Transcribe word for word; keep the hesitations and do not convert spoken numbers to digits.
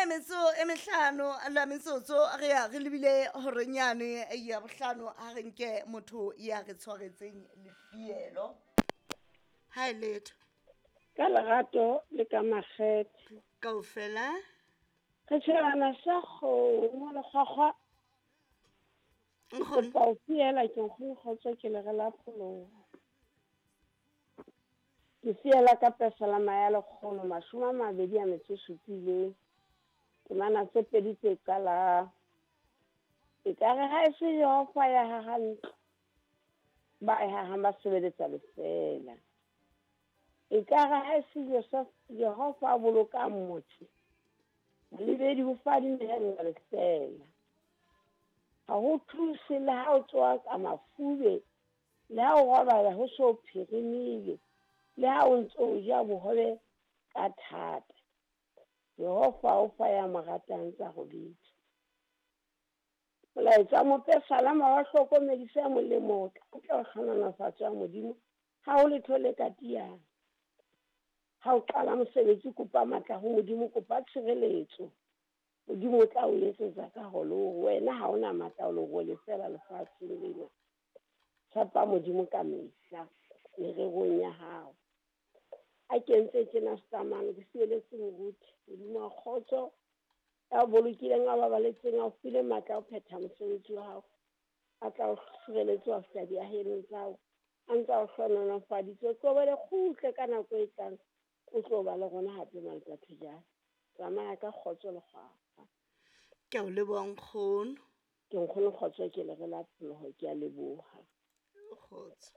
Mashome metso e mehlano la metsotso re ya re lebile horenyane ya bohlano, ha re nke motho ya re tshwaretseng lefielo. Ha e letho. Ka lerato le ka makgethe. Kaofela. Re tjhebana sa kgomo le kgwakgwa. Nkgono. Kopa ho fiela ke nkgono kgotso ke le re la pholoho. Ke fiela ka pesalama ya lekgolo mashome a mabedi a metso e supileng. Temana tse pedi tse qalang. Ekare ha e se Jehova ya hahang ntlo, ba e hahang ba sebeletsa lefeela. Ekare ha e se Joseph, Jehova a bolokang motse, molebedi o fadimehella lefeela. Ha ho thuse le ha o tsoha ka mafube, le ha o robala ho so phirimile, le ha o ntso o ja bohobe ka thata. Jehova o fa ya mo ratang tsa robetse. Molaetsa wa mopesalama wa hlokomedisa molemo ka ntle ho hlohonolofatso ya Modimo, ha ho letho le ka tiyang. Ha o qala mosebetsi, kopa matla ho Modimo, kopa tshireletso. Modimo o tla o etsetsa ka ho le hore wena ha ona matla o le role feela lefatsheng lena. Tshepa Modimo ka mehla mererong ya hao. A kentse tjena setamane ke sieletse moruti. Modimo wa kgotso ya o bolokileng, a babaletseng, a o file matla a ho phetha mosebetsi wa hao. A tla o sireletse wa fihla diahelong tsa hao. A ntse a o hlohonolofaditse. O tlohele kgutle ka nako e tlang. O tlo ba le rona hape Maletsatsi jwale. Tsamaya ka kgotso le kgwakgwa. Ke a o leboha nkgono. Ke nkgono kgotso ke le re la pholoho, ke a leboha. Kgotso.